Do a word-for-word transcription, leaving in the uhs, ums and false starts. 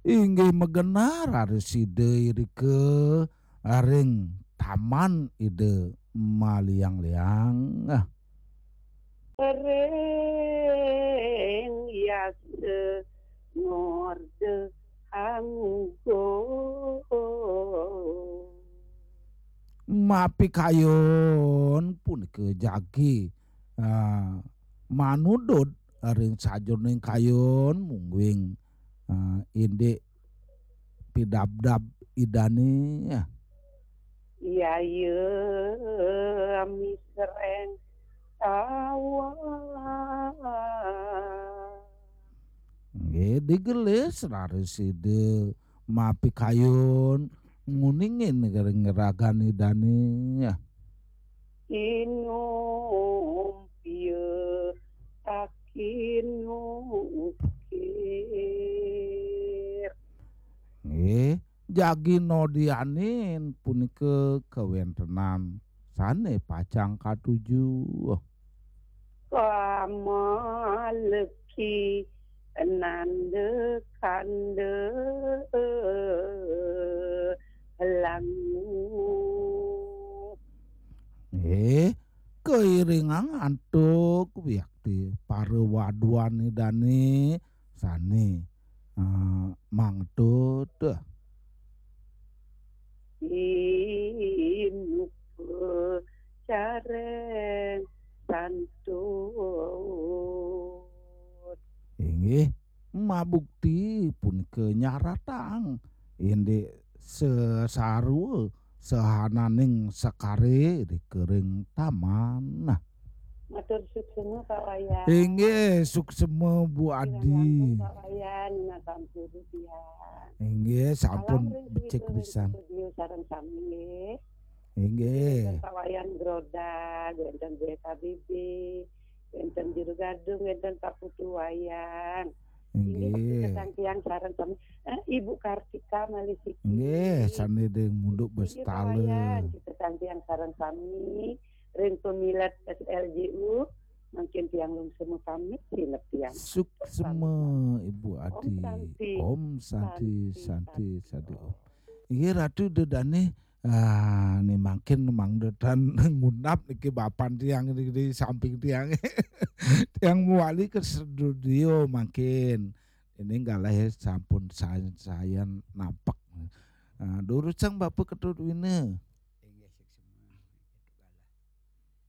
Inggih magenah raris sida irika ring taman Ida Maliang-liang. Ring yasa ngorda anggo. Mapikayun punika jagi, ah, manudut ring sajeroning kayun mungguing, ah, indik pidabdab Idane. Yaya misreng tawa. Nggih, digelis raris Ida mapikayun nguningin ring ragan Idane. Inum pia takin ukir. Nggih, jagi nodianin punika kawentenan sane pacang katuju. Kamaleki nanda kanda langu. Nggih, kairingang antuk wiakti para waduan Idane sane, eh, mangtut. Inupa careng santun. Inggih, mabukti punika nyaratang indik sesarwa sahananing sekare ring taman. Nah. Matur suksma, Pak Wayan. Inggih, suksma, Bu Adi. Kirang langkung, Pak Wayan, nunas ampura tiang. Inggih, sampun. Salam ring becik Sri pisan. Studio sareng sami, nggih. Inggih. Wénten Pak Wayan Grodag, wénten B K B B, wénten Juru Gadung, wénten Pak Putu Wayan. Inggih, inggih. Kita tangkiang sareng sami. Eh, Ibu Kartika malih siki. Inggih, sane ring Munduk. Inggih, Pak Bestala. Wayan, kita tangkiang sareng sami ring pamilet S L J U. Mangkin tiang lungsur pamit, sinep tiang. Suksma, Ibu Adi. Om Santi. Om Santi, Santi, Santi, Santi, Santi, Om. Inggih, Ratu Ida Dane, ah, ne mangkin mangda tan ngunap niki bapan tiang di, di samping tiang. Tiang mawali ke studio mangkin. Ini galih sampun sayan-sayan nampek. Ah, durusang Bapak Ketut Wina.